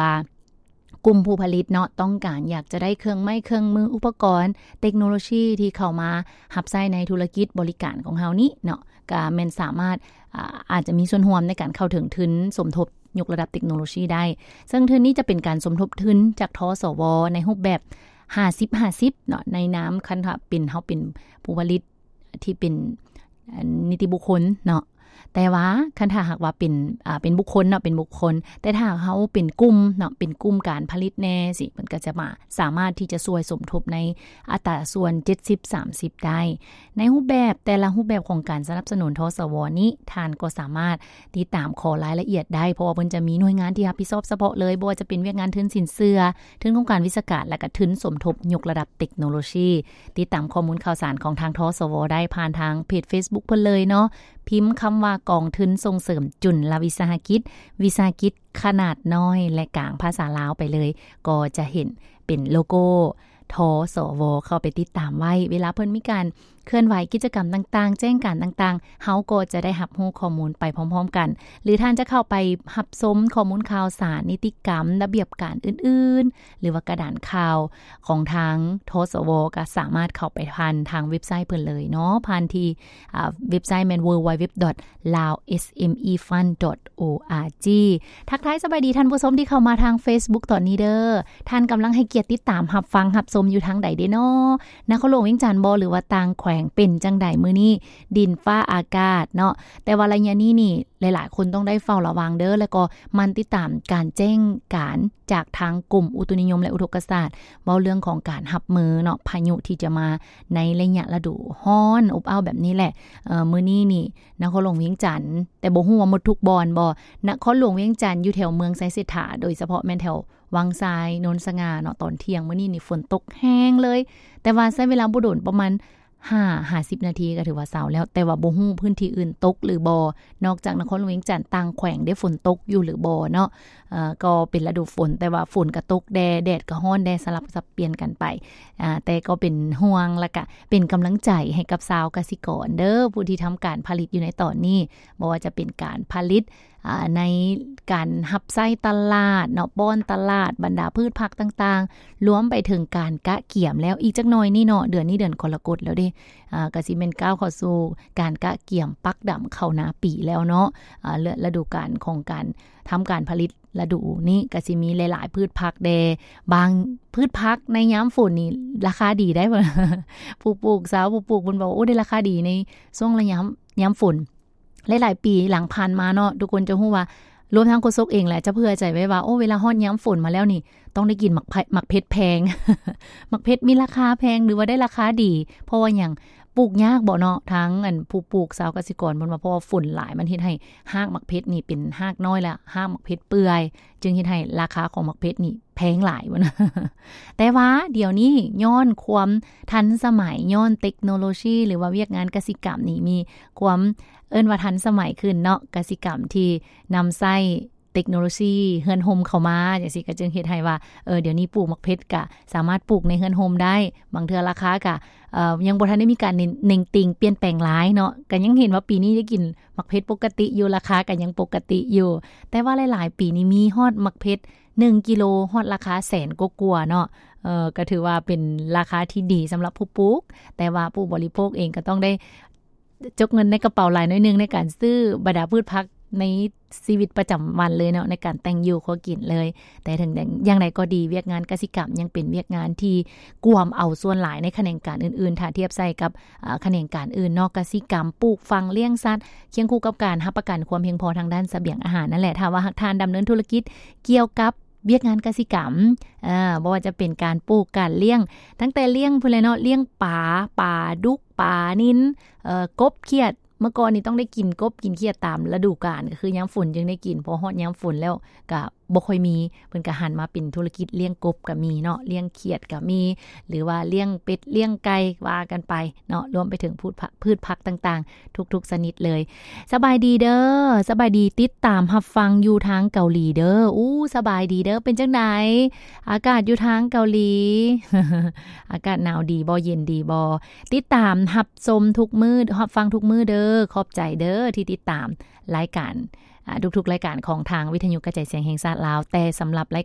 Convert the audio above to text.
ວ່າ ກຸ່ມຜູ້ຜະລິດເນາະ ຕ້ອງການຢາກຈະໄດ້ເຄື່ອງໄມ້ເຄື່ອງມື ອຸປະກອນ ເຕັກໂນໂລຊີທີ່ເຂົ້າມາຮັບໃຊ້ໃນທຸລະກິດບໍລິການຂອງເຮົານີ້ເນາະ ກະແມ່ນສາມາດ ອາ ອາດຈະມີສ່ວນຮ່ວມໃນການເຂົ້າເຖິງທຶນສົມທົບຍົກລະດັບເຕັກໂນໂລຊີໄດ້. ເຊິ່ງທຶນນີ້ຈະເປັນການສົມທົບທຶນຈາກ ທສວ ໃນຮູບແບບຫ້າສິບຫ້າສິບເນາະ ໃນນາມ ຄັນຖ້າເປັນ ເຮົາເປັນຜູ້ຜະລິດທີ່ເປັນ ອາ ນິຕິບຸກຄົນເນາະ. ແຕ່ວ່າຄັນຖ້າຫາກວ່າເປັນ ອາ ເປັນບຸກຄົນເນາະ ເປັນບຸກຄົນ ແຕ່ຖ້າເຮົາເປັນກຸ່ມເນາະ ເປັນກຸ່ມການຜະລິດແດ່ຊີ້ ເພິ່ນກໍຈະມາ ສາມາດທີ່ຈະຊ່ວຍສົມທົບໃນອັດຕາສ່ວນເຈັດສິບສາມສິບໄດ້. ໃນຮູບແບບ ແຕ່ລະຮູບແບບຂອງການສະໜັບສະໜູນ ທສວ ນີ້ ທ່ານກໍສາມາດຕິດຕາມຂໍລາຍລະອຽດໄດ້ ເພາະວ່າເພິ່ນຈະມີໜ່ວຍງານທີ່ຮັບຜິດຊອບສະເພາະເລີຍ ບໍ່ວ່າຈະເປັນວຽກງານທຶນສິນເຊື່ອ, ທຶນໂຄງການວິຊາການ ແລະ ກະທຶນສົມທົບຍົກລະດັບເຕັກໂນໂລຊີ. ຕິດຕາມຂໍ້ມູນຂ່າວສານຂອງທາງ ທສວ ໄດ້ຜ່ານທາງເພຈເຟສບຸກເພິ່ນເລີຍເນາະ. ພິມຄຳວ່າ ກອງທຶນສົ່ງເສີມຈຸນລະວິສາຫະກິດ, ວິສາຫະກິດຂະໜາດນ້ອຍ ແລະ ກາງ ພາສາລາວໄປເລີຍ ກໍຈະເຫັນເປັນໂລໂກ້ ທສວ ເຂົ້າໄປຕິດຕາມໄວ້. ເວລາເພິ່ນມີການເຄື່ອນໄຫວກິດຈະກຳຕ່າງໆ ແຈ້ງການຕ່າງໆ ເຮົາກໍຈະໄດ້ຮັບຮູ້ຂໍ້ມູນໄປພ້ອມໆກັນ ຫຼື ທ່ານຈະເຂົ້າໄປຮັບຊົມຂໍ້ມູນຂ່າວສານ ນິຕິກຳ ລະບຽບການອື່ນໆ ຫຼືວ່າກະດານຂ່າວຂອງທາງ ທສວ ກໍສາມາດເຂົ້າໄປຜ່ານທາງເວັບໄຊເພິ່ນເລີຍເນາະ ຜ່ານທີ່ ອາ ເວັບໄຊແມ່ນ www.laosmefund.org. ທັກທາຍສະບາຍດີທ່ານຜູ້ຊົມທີ່ເຂົ້າມາທາງເຟສບຸກຕອນນີ້ເດີ. ທ່ານກຳລັງໃຫ້ກຽດຕິດຕາມຮັບຟັງຮັບຊົມຢູ່ທາງໃດເດເນາະ? ນະຄອນຫຼວງວຽງຈັນບໍ ຫຼືວ່າຕ່າງແຂວງ? ເປັນຈັ່ງໃດມື້ນີ້ ດິນຟ້າອາກາດເນາະ? ແຕ່ວ່າໄລຍະນີ້ນີ້ ຫຼາຍໆຄົນຕ້ອງໄດ້ເຝົ້າລະວັງເດີ ແລ້ວກໍໝັ່ນຕິດຕາມການແຈ້ງການຈາກທາງກົມອຸຕຸນິຍົມ ແລະ ອຸທົກກະສາດ ເວົ້າເລື່ອງຂອງການຮັບມືເນາະ ພາຍຸທີ່ຈະມາໃນໄລຍະລະດູຮ້ອນອົບອ້າວແບບນີ້ແຫຼະ. ເອີ ມື້ນີ້ນີ້ ນະຄອນຫຼວງວຽງຈັນ ແຕ່ບໍ່ຮູ້ວ່າໝົດທຸກບ່ອນບໍ່ ນະຄອນຫຼວງວຽງຈັນ ຢູ່ແຖວເມືອງໄຊເສດຖາ ໂດຍສະເພາະແມ່ນແຖວວັງຊາຍ ໂນນສະຫງ່າເນາະ ຕອນທ່ຽງມື້ນີ້ນີ້ຝົນຕົກແຮງເລີຍ ແຕ່ວ່າໃຊ້ເວລາບໍ່ດົນ ປະມານ ຫ້າ ຫ້າສິບນາທີກໍຖືວ່າເຊົາແລ້ວ ແຕ່ວ່າບໍ່ຮູ້ພື້ນທີ່ອື່ນຕົກຫຼືບໍ່ ນອກຈາກນະຄອນຫຼວງວຽງຈັນ ຕ່າງແຂວງໄດ້ຝົນຕົກຢູ່ຫຼືບໍ່ເນາະ. ເອີ ກໍເປັນລະດູຝົນ ແຕ່ວ່າຝົນກໍຕົກແດ່ ແດດກໍຮ້ອນແດ່ ສະຫຼັບສັບປ່ຽນກັນໄປ. ອາ ແຕ່ກໍເປັນຫ່ວງ ແລ້ວກະເປັນກຳລັງໃຈໃຫ້ກັບຊາວກະສິກອນເດີ ຜູ້ທີ່ທຳການຜະລິດຢູ່ໃນຕອນນີ້ ບໍ່ວ່າຈະເປັນການຜະລິດ ອາ ໃນການຮັບໃຊ້ຕະຫຼາດເນາະ ປ້ອນຕະຫຼາດ ບັນດາພືດຜັກຕ່າງໆ ລວມໄປເຖິງການກະກຽມແລ້ວ. ອີກຈັກໜ່ອຍນີ້ເນາະ ເດືອນນີ້ເດືອນກໍລະກົດແລ້ວເດ້ ອາ ກໍຊິແມ່ນກ້າວເຂົ້າສູ່ການກະກຽມປັກດຳເຂົ້ານາປີແລ້ວເນາະ. ອາ ລະ ລະດູການຂອງການທຳການຜະລິດລະດູນີ້ກໍຊິມີຫຼາຍໆພືດຜັກແດ່ ບາງພືດຜັກໃນຍາມຝົນນີ້ລາຄາດີໄດ໋ ຜູ້ປູກ ຊາວຜູ້ປູກເພິ່ນບອກ ໂອ້ ໄດ້ລາຄາດີໃນຊ່ວງລະຍະຍາມຝົນ. ຫຼາຍໆປີຫຼັງຜ່ານມາເນາະ ທຸກຄົນຈະຮູ້ວ່າ ລວມທັງໂຄສົກເອງແຫຼະ ຈະເຜື່ອໃຈໄວ້ວ່າ ໂອ້ ເວລາຮອດຍາມຝົນມາແລ້ວນີ້ ຕ້ອງໄດ້ກິນໝາກ ໝາກເຜັດແພງ ໝາກເຜັດມີລາຄາແພງ ຫຼືວ່າໄດ້ລາຄາດີ ເພາະວ່າຫຍັງ ປູກຍາກບໍເນາະ ທາງອັນຜູ້ປູກ ຊາວກະສິກອນເພິ່ນວ່າ ເພາະວ່າຝົນຫຼາຍ ມັນເຮັດໃຫ້ຮາກໝາກເຜັດນີ້ເປັນຮາກນ້ອຍ ແລະ ຮາກໝາກເຜັດເປື່ອຍ ຈຶ່ງເຮັດໃຫ້ລາຄາຂອງໝາກເຜັດນີ້ແພງຫຼາຍ ແຕ່ວ່າດຽວນີ້ຍ້ອນຄວາມທັນສະໄໝ ຍ້ອນເຕັກໂນໂລຊີ ຫຼືວ່າວຽກງານກະສິກຳນີ້ມີຄວາມ ເອີ້ນວ່າທັນສະໄໝຂຶ້ນເນາະ ກະສິກຳທີ່ນຳໃຊ້ເຕັກໂນໂລຊີເຮືອນຮົ່ມເຂົ້າມາຈັ່ງຊີ້ ກໍຈຶ່ງເຮັດໃຫ້ວ່າ ເອີ ດຽວນີ້ປູກໝາກເຜັດກະສາມາດປູກໃນເຮືອນຮົ່ມໄດ້ ບາງເທື່ອລາຄາກະ ເອີ ຍັງບໍ່ທັນໄດ້ມີການເໜັງຕີງປ່ຽນແປງຫຼາຍເນາະ ກໍຍັງເຫັນວ່າປີນີ້ໄດ້ກິນໝາກເຜັດປົກກະຕິຢູ່ ລາຄາກໍຍັງປົກກະຕິຢູ່ ແຕ່ວ່າຫຼາຍໆປີນີ້ມີຮອດໝາກເຜັດໜຶ່ງກິໂລຮອດລາຄາແສນກວ່າໆເນາະ ເອີ ກໍຖືວ່າເປັນລາຄາທີ່ດີສຳລັບຜູ້ປູກ ແຕ່ວ່າຜູ້ບໍລິໂພກເອງກໍຕ້ອງໄດ້ ຈົກເງິນໃນກະເປົາຫຼາຍໜ້ອຍໜຶ່ງໃນການຊື້ບັນດາພືດຜັກໃນຊີວິດປະຈຳວັນເລີຍເນາະ ໃນການແຕ່ງຢູ່ຄົວກິນເລີຍ. ແຕ່ເຖິງຢ່າງໃດກໍດີ ວຽກງານກະສິກຳຍັງເປັນວຽກງານທີ່ກວມເອົາສ່ວນຫຼາຍໃນຂະແໜງການອື່ນໆ ຖ້າທຽບໃສ່ກັບ ອາ ຂະແໜງການອື່ນເນາະ ກະສິກຳ ປູກຝັງ ລ້ຽງສັດ ຄຽງຄູ່ກັບການຮັບປະກັນຄວາມພຽງພໍທາງດ້ານສະບຽງອາຫານນັ້ນແຫຼະ. ຖ້າວ່າຫາກທ່ານດຳເນີນທຸລະກິດກ່ຽວກັບວຽກງານກະສິກຳ ອາ ບໍ່ວ່າຈະເປັນການປູກ ການລ້ຽງ ຕັ້ງແຕ່ລ້ຽງພຸ້ນແຫຼະເນາະ ລ້ຽງປາ ປາດຸກ ປານິນ ເອີ ກົບ ຂຽດ ເມື່ອກ່ອນນີ້ຕ້ອງໄດ້ກິນກົບກິນຂຽດຕາມລະດູການ ກໍຄືຍາມຝົນຈຶ່ງໄດ້ກິນ ພໍຮອດຍາມຝົນແລ້ວກະບໍ່ຄ່ອຍມີ ເພິ່ນກະຫັນມາເປັນທຸລະກິດລ້ຽງກົບກະມີເນາະ ລ້ຽງຂຽດກະມີ ຫຼືວ່າລ້ຽງເປັດລ້ຽງໄກ່ວ່າກັນໄປເນາະ ລວມໄປເຖິງພືດຜັກ ພືດຜັກຕ່າງໆທຸກໆຊະນິດເລີຍ. ສະບາຍດີເດີ ສະບາຍດີ ຕິດຕາມຮັບຟັງຢູ່ທາງເກົາຫຼີເດີ. ອູ້ ສະບາຍດີເດີ ເປັນຈັ່ງໃດ ອາກາດຢູ່ທາງເກົາຫຼີ ອາກາດໜາວດີບໍ່ ເຢັນດີບໍ່? ຕິດຕາມຮັບຊົມທຸກມື້ ຮັບຟັງທຸກມື້ເດີ. ຂອບໃຈເດີທີ່ຕິດຕາມລາຍການ ທຸກໆລາຍການຂອງທາງວິທະຍຸກະຈາຍສຽງແຫ່ງຊາດລາວ ແຕ່ສຳລັບລາຍການ